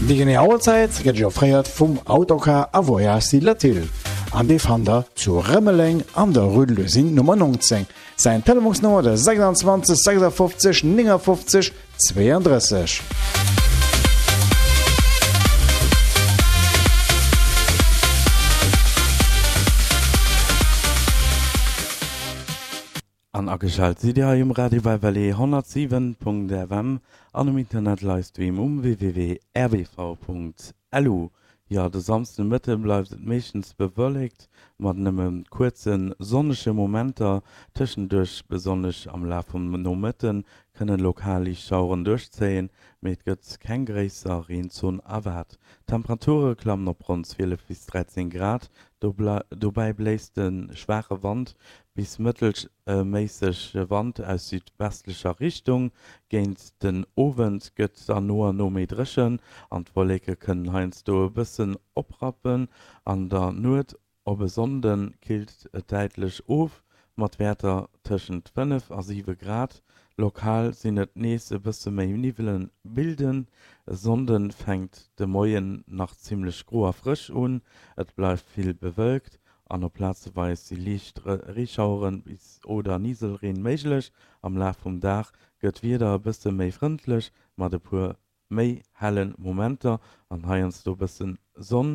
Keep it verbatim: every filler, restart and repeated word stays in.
Déi genee Auerzäit gëtt Iech offréiert vum Autocar a Voyage Latil an dee fannt der zu Rëmeleng an der Rue de l'Usine Nummer neunzéng. Säin Telefonsnummer de sechsundzwanzeg sechsundfünfzig neunundfünfzig zweiunddrësseg. An ageschalt sidd Dir hei um Radio Bellevallée honnertsiwen Punkt F M an um Internet Livestream um w w w punkt r b v punkt l u. Jo, de Samsdenomëtte bleift et meeschtens bewëllekt mat nëmme kuerze sonnege Momenter. Tëschenduerch, besonnesch am Laf vum Nomëtte, kënne lokal liicht Schaueren duerchzéien, mee et gëtt keng gréisser Reenzon erwaart. D'Temperature klammen op ronn zwielef bis dräizéng Grad, dobäi bléist e schwaache Wand bis mëttelméissege Wand aus südwestlecher Richtung. Géint den Owend gëtt et dann no an no méi dréchen an d'Wolleke kënnen heiansdo e bëssen oprappen. An der Nuet op e Sonnde killt et däitlech of, mat Wäerter tëschent fënnef a siwe Grad. Lokal sinn et nees e bësse méi, Niwwele bilden. E Sonnde fänkt de Moien nach zimmlech gro a frësch un, et bleift vill bewëlkt an op plazeweis si liicht Reeschaueren bis oder Niwwelreen méiglech. Am Laf vum Dag gëtt d'Wieder e bësse méi frëndlech mat e puer méi helle Momenter an heiansdo bësse Sonn.